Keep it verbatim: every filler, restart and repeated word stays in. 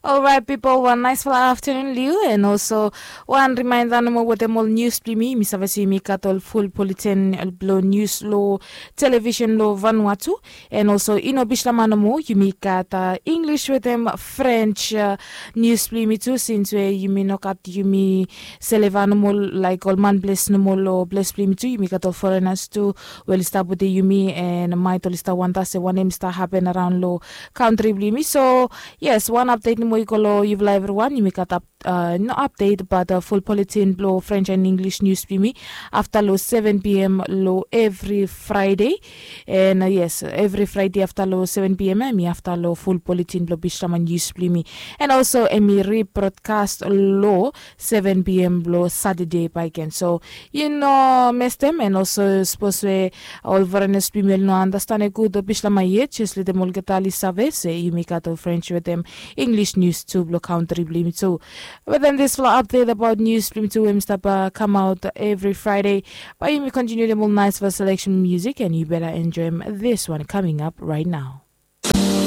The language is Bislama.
Olrait pipol, wan naisfala aftanun long yu. And olso wan rimainda nomo wetem ol nius blong yumi. Mi save se yumi gat ol ful poletin blong nius long televisen long vanua tu. And olso i no bislama nomo, yumi gat inglis wetem frens nius blong yumi tu, sins we yumi no gat yumi seleva nomo laik ol manples nomo long ples blong yumi tu. Yumi gat ol forenas tu we oli stap wetem yumi, and maet oli stap wanda se wanem i stap hapen araon long kantri blong yumi. So yes, wan apdet nomo i go long yufala evriwan. Yumi gat ap no apdet bat ful poletin blong frens and inglis nius blong yumi afta long seven p m long evri fraede. And yes, evri fraede afta long seven p m em i afta long ful poletin blong bislama nius blong yumi. And olso em i ribrodkas long seven p m blong satade bakegen. So yu no mestem. And olso sapos we ol forenas blong yumi oli no andastan gud bislama yet, jes letem olgeta oli save se yumi gat ol frens wetem inglis nius tu blong kantri blong yumi tu. Wetem disfala apdet abaot nius blong yumi tu we mi stap kamaot evri fraede, bae yumi kontiniu wetem ol naisfala seleksen musik, and yu beta enjoem diswan kaming ap raet nao.